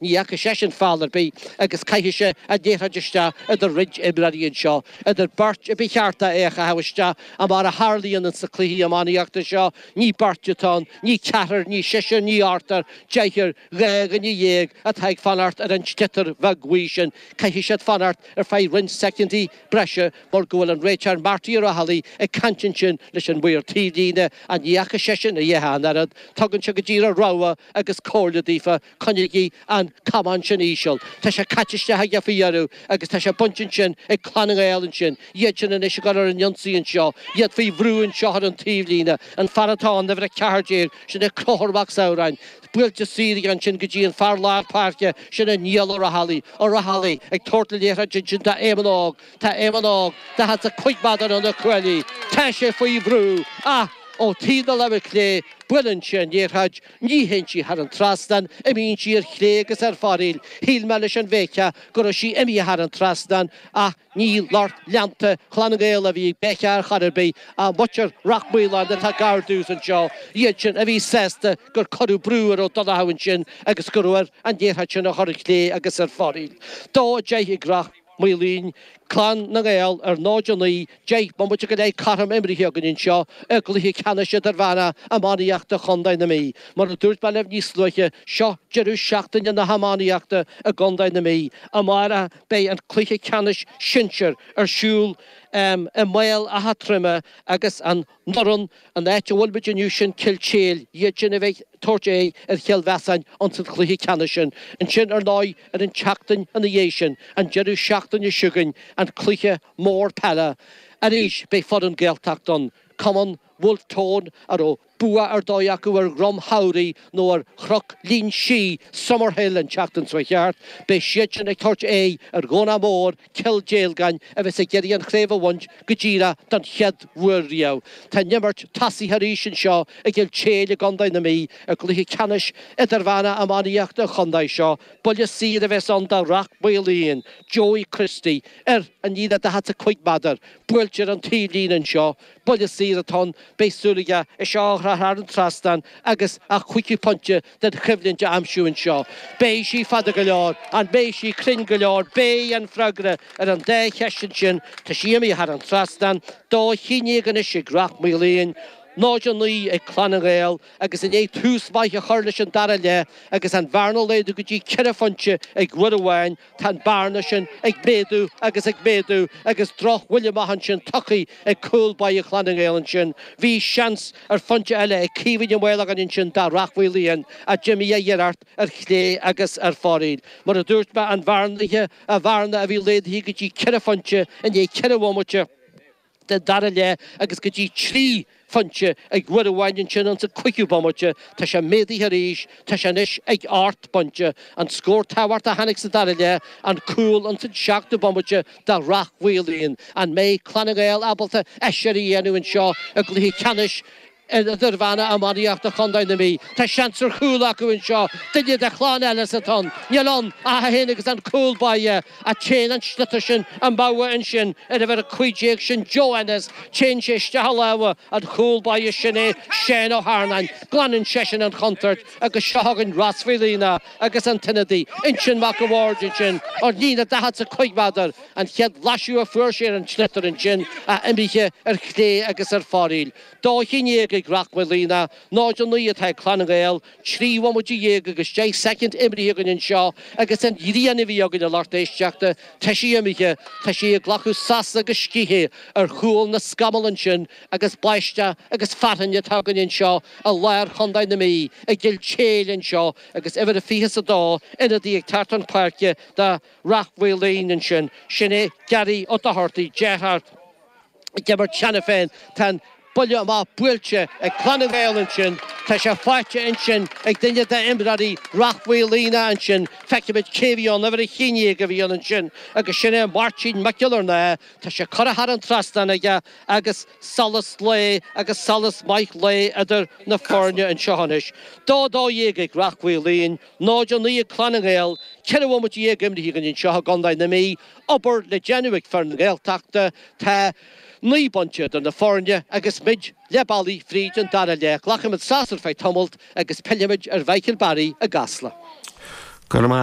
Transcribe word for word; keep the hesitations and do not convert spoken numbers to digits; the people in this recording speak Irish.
Ní fhaca seisean feall ar bith agus caithfidh sé an liathróid isteach idir roinnt imreoirí anseo, idir beirt a ba cheart é a chaitheamh isteach ach mar a tharlaíonn ins na cluichí iománaíochta seo, ní beirt atá ann, ní ceathrar, ní seisear, ní ochtar, deichniúr, dhá dhuine dhéag atá ag fanacht ar an tsliotar bheag bhuí sin. Caithfidh siad fanacht ar feadh roinnt soicindí breise mar go bhfuil an réiteoir Marty Ó Raghallaigh ag caint ansin leis an maor taobhlíne ach ní fhaca seisean a dhath ach an oiread. Tugann sé go díreach rabhadh agus comhairle daofa, coinnigí an camán sin íseal. Tá sé caite isteach aige faoi dheireadh agus tá sé bainte ansin ag Clann na nGael ansin. Iad sin anois ag dul ar an ionsaí anseo, iad faoi bhrú anseo ar an taobhlíne. An fear atá ann, uimhir a ceathair déag, sin é Conchúr Mac Samhráin. Buailte saor aige ansin go dtí an fear lár páirce, sin é Niall Ó Raghallaigh. Ó Raghallaigh ag tabhairt na liathróide ansin do Éamonn Óg. Tá Éamonn Óg daichead 's a cúig méadar ó na cuaillí. Tá sé faoi bhrú ach ó taobh na láimhe clé, buaileann sé an liathróid. Ní théann sí thar an trasnán, imíonn sí ar chlé agus ar foraíl. Shíl mé leis an bhféiceadh go raibh sí imithe thar an trasnán ach ní lucht leanta Chlann na nGael a bhí ag béiceadh ar chor ar bith ach muintir Rath Maoláin atá gar domhsa anseo, iad sin a bhí sásta gur cuireadh brú ar Ó Donnchadha ansin agus go raibh air an liathróid sin a chur ar chlé agus ar foraíl. Dó a deich ag Rath Maoláin, Clann na nGael ar náid a naoi, deich mbomaite go leith cothrom imrithe againn anseo i gcluiche ceannais idirmheánach iománaíochta Chontae na Mí. Mar a dúirt mé libh níos luaithe, seo deireadh seachtaine na hiománaíochta i gContae na Mí. Amárach beidh an cluiche ceannais sinsir ar siúl i mBéal Átha Troim agus an fhoireann, an áit a bhfuil muid inniu, sin Cill tSéil, iad sin a bheidh ag tabhairt aghaidh ar Chill Mheasáin ins an chluiche ceannais sin. Ansin, ar ndóigh, ar an tseachtain ina dhiaidh sin, an deireadh seachtaine seo chugainn, an cluiche mór peile. Arís, beidh foireann Gaeltacht ann, Cumann Wolfe Tone, a raibh bua ar dóigh acu ar Dhroim Shamhraidh nó ar Chnoc Linn Sí, Summerhill, an tseachtain seo thart. Beidh siad sin ag tabhairt aghaidh ar Dhomhnach Mór, Cill Déalgáin, a bheas ag iarraidh an chraobh a bhaint go díreach don chéad uair riamh. Tá an imirt tosaithe arís anseo i gCill tSéil i gContae na Mí i gcluiche ceannais idirmheánach iománaíochta an chontae seo. Buille saor a bheas ann do Rath Maoláin, Joey Christie, ar an líne daichead 's a cúig méadar, buailte ar an taobhlíne anseo. Buille saor atá ann, beidh súil aige é seo a chur thar an trasnán agus a chúigiú pointe den choimhlint a aimsiú anseo. Beidh sí fada go leor, an mbeidh sí cruinn go leor? Beidh an freagra ar an dá cheist ansin. Tá sí imithe thar an trasnán, dó haon déag anois ag Rath Maoláin, náid a naoi ag Clann na nGael agus i ndiaidh tús maith a chur leis an dara leath agus an bhearna a laghdú go dtí ceithre phointe ag uair amháin, Tá an bearna sin ag méadú agus ag méadú agus drochbhuille amach ansin tugtha ag cúl báire Chlann na nGael ansin. Bhí seans ar phointe eile ag Caoimhín Ó Maolagáin ansin do Rath Mhaoláin ach d'imigh a iarracht ar chlé agus ar foraíl. Mar a dúirt mé, an bhearna a bhearna a bhí laghdaithe go dtí ceithre phointe i ndiaidh ceithre bhomaite den dara leath agus go dtí trí phointe ag uair amháin ansin ins an cúigiú bomaite. Tá sé méadaithe arís, tá sé anois ag ocht bpointe. An scór tábhachtach a tháinig sa dara leath, an cúl ins an seachtú bomaite do Rath Mhaoláin. An mbeidh Clann na nGael ábalta aiséirí a dhéanamh anseo i gcluiche ceannais Idirmheánach Iománaíochta Chontae na Mí? Tá seans ar chúl acu anseo, duine de chlann Ellis atá ann. Níl ann ach é féin agus an cúl báire. Ach téann an sliotar sin amú ansin ar uimhir a cúig déag, sin Joe Ennis. Téann sé isteach i lámha an chúl báire, sin é Seán Ó hEarnáin. Glanann seisean an chontúirt agus seo chugainn Ros Mhaoilíona agus an t-ionadaí, Uinseann Mac a' Bhaird ansin ón líne daichead 's a cúig méadar. An chéad bhlaiseadh a fuair sé ar an tsliotar ansin ach imithe ar chlé agus ar foraíl. Dó haon déag ag Rath Maoilíona, náid a naoi atá ag Clann na nGael. Trí bhomaite dhéag agus deich soicind imrithe againn anseo agus an ghrian a bhí againn a lucht éisteachta, tá sí imithe, tá sí ag glacadh sosa agus scíthe ar chúl na scamall ansin agus báisteach agus fearthainn atá againn anseo i lár Chontae na Mí, i gCill tSéil anseo agus uimhir a fiche 's a dó, ionadaí ag teacht chun páirce do Rath Mhaoláin ansin, sin é Gary Ó Dochartaigh, deartháir. ag imirt cheana féin. Tá an buille amach buailte ag Clann na nGael ansin. Tá sé faighte ansin ag duine d'imreoirí Rath Mhaoilíona ansin. Feicfimid cé a bhí ann, uimhir a haon déag a bhí ann ansin agus sin é Máirtín Mac Giollarnáth. Tá sé curtha thar an trasnán aige agus solas lae agus solas maith lae idir na foirne anseo anois. Dó dó dhéag ag Rath Mhaoilín, náid a naoi ag Clann na nGael, ceithre bhomaite dhéag imrithe againn anseo i gContae na Mí. Obair le déanamh ag fir na Gaeltachta. Tá naoi bpointe idir na foirne agus muid leath bealaigh fríd an dara leath. Glacfaimid sos ar feadh tamalt agus pillfimid ar Mhichael Barry i gCasla. Go maith.